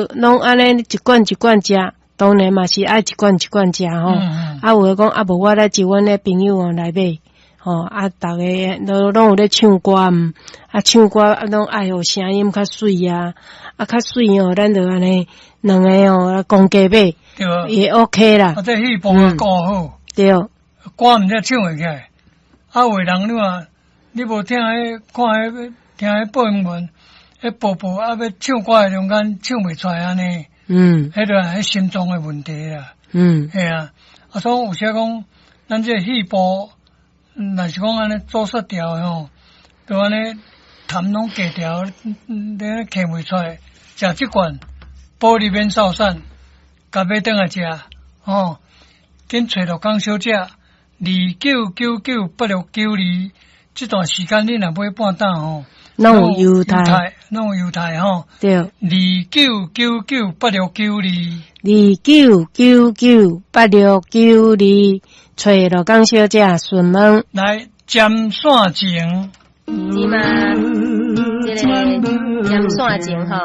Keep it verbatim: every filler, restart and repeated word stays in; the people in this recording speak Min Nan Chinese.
攏按呢一罐一罐食，當然嘛是愛一罐一罐食吼。嗯啊，有的講啊，無我來招阮的朋友哦來買，吼啊，逐家都攏有咧唱歌毋，啊，唱歌啊，攏愛予聲音較媠啊，啊，較媠哦，咱就按呢兩个哦，公價買對啊，也 OK 啦。啊，這肺部啊顧好，對，歌毋才唱會起來。啊，有的人你話，你無聽彼看彼聽彼播音員，彼播播啊，欲唱歌的中間唱袂出來按呢，嗯彼就彼心臟的問題啦。嗯嘿啊，啊，所以有時講，咱這个肺部，若是講按呢阻塞掉的吼，就按呢痰攏結掉，你咳袂出來。食這罐保利免瘦散，共買轉來食，吼，緊揣陸江小姐，二九九九八六九二，這段時間你若買半擔吼，攏有優待，攏有優待吼，對，二九九九八六九二。二九九九八六九二，揣陸江小姐詢問。來占線情，是嗎？這个占線情吼，